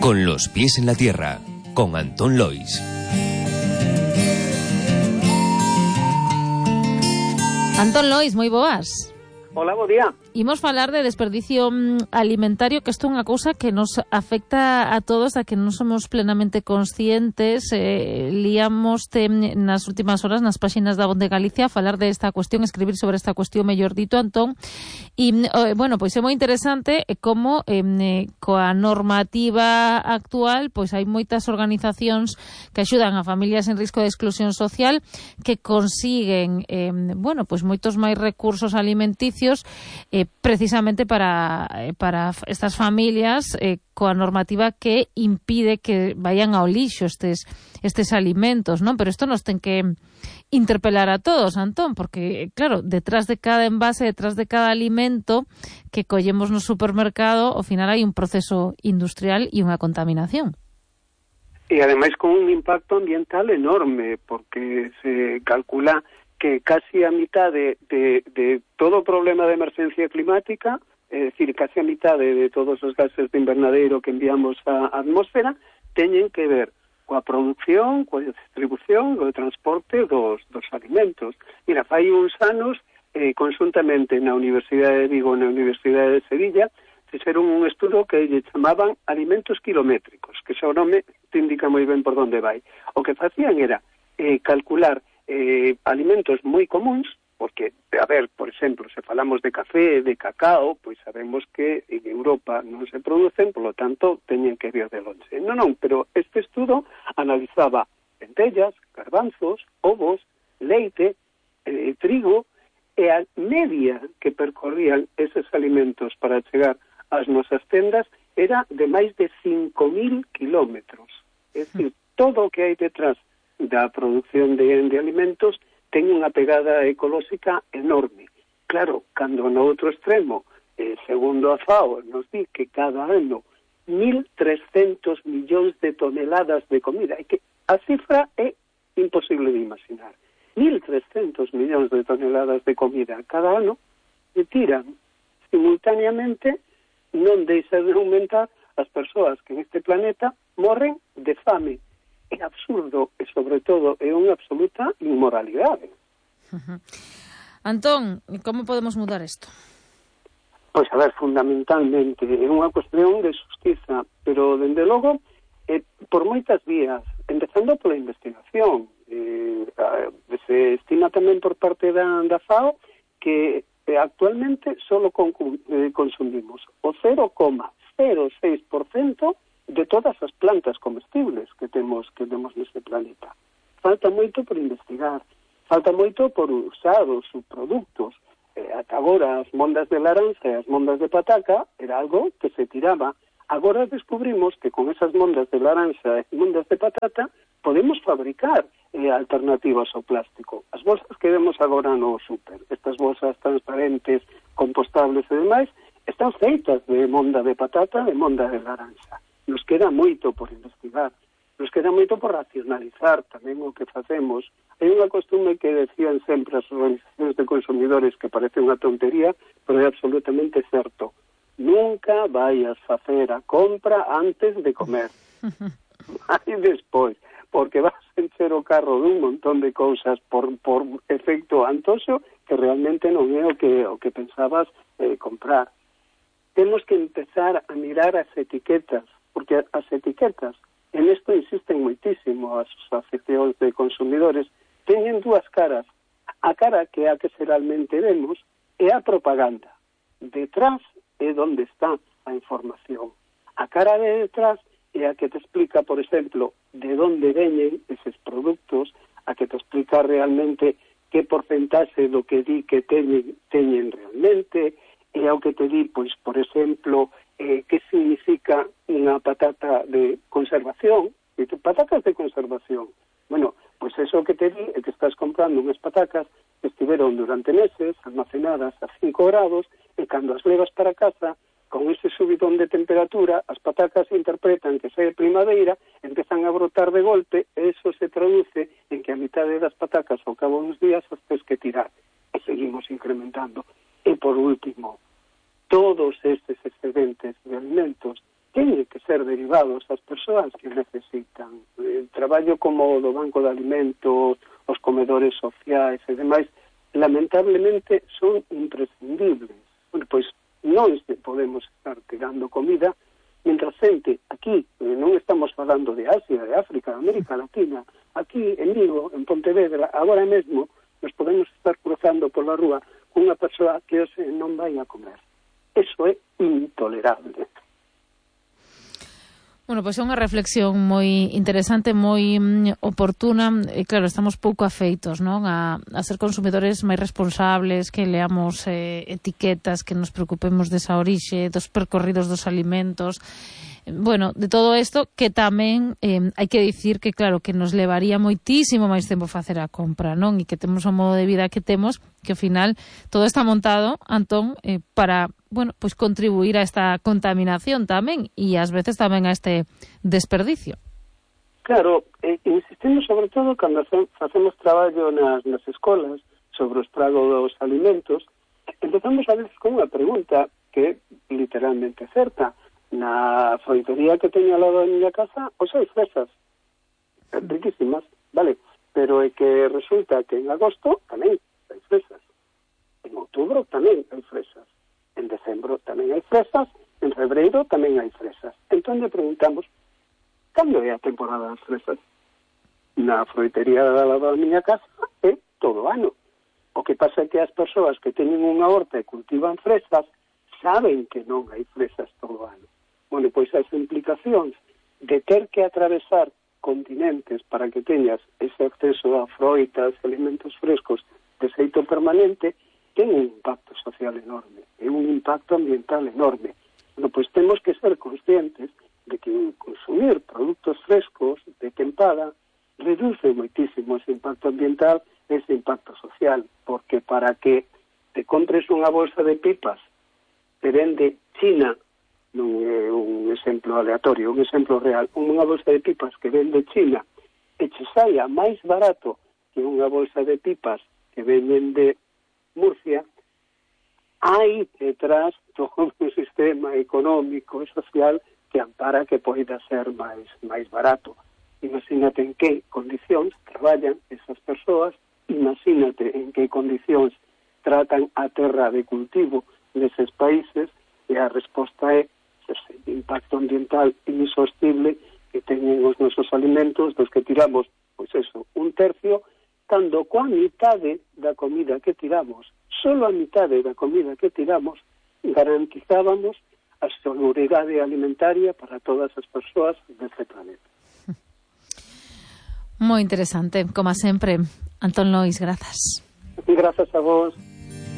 Con los pies en la tierra, con Antón Lois. Antón Lois, moi boas. Hola, bo día. Imos falar de desperdicio alimentario, que isto é unha cousa que nos afecta a todos, a que non somos plenamente conscientes. Líamos nas últimas horas nas páxinas da Voz de Galicia falar de esta cuestión, escribir sobre esta cuestión, mellor dito, Antón. E, bueno, pois é moi interesante como coa normativa actual, pois hai moitas organizacións que axudan a familias en risco de exclusión social que consiguen, bueno, pois moitos máis recursos alimenticios precisamente para estas familias coa normativa que impide que vayan ao lixo estes alimentos, non? Pero isto nos ten que interpelar a todos, Antón, porque, claro, detrás de cada envase, detrás de cada alimento que collemos no supermercado, ao final hai un proceso industrial e unha contaminación. E ademais con un impacto ambiental enorme, porque se calcula que casi a mitad de todo o problema de emerxencia climática, é dicir, casi a mitad de todos os gases de invernadeiro que enviamos á atmosfera, teñen que ver coa produción, coa distribución, co transporte dos alimentos. Mira, fai uns anos, conjuntamente na Universidade de Vigo e na Universidade de Sevilla, fixeron un estudo que lle chamaban alimentos kilométricos, que xa o nome te indica moi ben por onde vai. O que facían era calcular alimentos moi comuns, porque, a ver, por exemplo, se falamos de café, de cacao, pois sabemos que en Europa non se producen, polo tanto, teñen que vir de longe. Non, pero este estudo analizaba lentellas, garbanzos, ovos, leite, trigo, e a media que percorrían eses alimentos para chegar ás nosas tendas era de máis de 5.000 kilómetros. É dicir, todo o que hai detrás da produción de alimentos ten unha pegada ecolóxica enorme. Claro, cando no outro extremo, segundo a FAO, nos di que cada ano 1.300 millóns de toneladas de comida, e que a cifra é imposible de imaginar. 1.300 millóns de toneladas de comida cada ano se tiran simultáneamente, non deixa de aumentar as persoas que neste planeta morren de fame. É absurdo e, sobre todo, é unha absoluta inmoralidade. Antón, como podemos mudar isto? Pois, a ver, fundamentalmente, é unha cuestión de justiza, pero, dende logo, por moitas vías, empezando pola investigación. Se estima tamén por parte da FAO que actualmente solo consumimos o 0,06% de todas as plantas comestibles que temos neste planeta. Falta moito por investigar, falta moito por usar os subproductos. Ata agora as mondas de laranxa e as mondas de pataca era algo que se tiraba. Agora descubrimos que con esas mondas de laranxa e mondas de patata podemos fabricar alternativas ao plástico. As bolsas que vemos agora no super, estas bolsas transparentes, compostables e demais, están feitas de monda de patata e monda de laranxa. Nos queda moito por investigar, nos queda moito por racionalizar tamén o que facemos. Hai unha costume que decían sempre as organizacións de consumidores que parece unha tontería, pero é absolutamente certo. Nunca vayas facer a compra antes de comer. E despois, porque vas a encher o carro dun montón de cousas por efecto antoxo que realmente non é o que pensabas comprar. Temos que empezar a mirar as etiquetas, porque as etiquetas, en isto insisten moitísimo as asociacións de consumidores, teñen dúas caras. A cara que é a que xeralmente vemos é a propaganda. Detrás é onde está a información. A cara de detrás é a que te explica, por exemplo, de onde veñen eses produtos, a que te explica realmente que porcentaxe do que di que teñen realmente, e ao que te di, pois, por exemplo, que significa unha patata de conservación, patatas de conservación. Bueno, pois eso que te di é que estás comprando unhas patacas que estiveron durante meses almacenadas a 5 grados e cando as levas para casa, con ese subidón de temperatura, as patacas interpretan que xa é primavera, empezan a brotar de golpe e eso se traduce en que a mitade das patacas ao cabo dos días as tens que tirar e seguimos incrementando. E por último, todos estes excedentes de alimentos teñen que ser derivados ás persoas que necesitan. Traballo como o do Banco de Alimentos, os comedores sociais e demais, lamentablemente son imprescindibles. Bueno, pois non podemos estar tirando comida mientras xente aquí, non estamos falando de Asia, de África, de América Latina, aquí en Vigo, en Pontevedra, agora mesmo nos podemos estar cruzando pola rúa con unha persoa que hoxe non vai a comer. Eso é intolerable. Bueno, pois é unha reflexión moi interesante, moi oportuna. E claro, estamos pouco afeitos, non? A ser consumidores máis responsables, que leamos etiquetas, que nos preocupemos desa orixe, dos percorridos dos alimentos. Bueno, de todo isto que tamén hai que dicir que claro, que nos levaría moitísimo máis tempo facer a compra, non? E que temos o modo de vida que temos, que ao final todo está montado, Antón, para, bueno, pois contribuir a esta contaminación tamén e ás veces tamén a este desperdicio. Claro, insistimos sobre todo cando facemos traballo nas escolas sobre o estrago dos alimentos, empezamos a veces con unha pregunta que é literalmente certa. Na froitería que teño ao lado da miña casa, pois hai fresas riquísimas, vale, pero é que resulta que en agosto tamén hai fresas, en outubro tamén hai fresas, en decembro tamén hai fresas, en febreiro tamén hai fresas. Entón lle preguntamos, cando é a temporada das fresas? Na froitería da lado da miña casa é todo o ano. O que pasa é que as persoas que teñen unha horta e cultivan fresas saben que non hai fresas todo o ano. Bueno, pois as implicacións de ter que atravesar continentes para que teñas ese acceso a froitas, alimentos frescos de xeito permanente, ten un impacto social enorme, e un impacto ambiental enorme. Bueno, pois temos que ser conscientes de que consumir produtos frescos de tempada reduce moitísimo ese impacto ambiental e ese impacto social, porque para que te compres unha bolsa de pipas que vende China, non é un exemplo aleatorio, un exemplo real, unha bolsa de pipas que vende China e che saia máis barato que unha bolsa de pipas que venden de Murcia, hai detrás todo un sistema económico e social que ampara que poida ser máis barato. Imagínate en que condicións traballan esas persoas, imagínate en que condicións tratan a terra de cultivo neses países, e a resposta é ese impacto ambiental insostible que teñen os nosos alimentos, dos que tiramos, pois eso, un tercio, cando coa mitade da comida que tiramos, solo a mitade da comida que tiramos, garantizábamos a seguridade alimentaria para todas as persoas deste planeta. Moi interesante, como sempre. Antón Lois, grazas. Grazas a vos.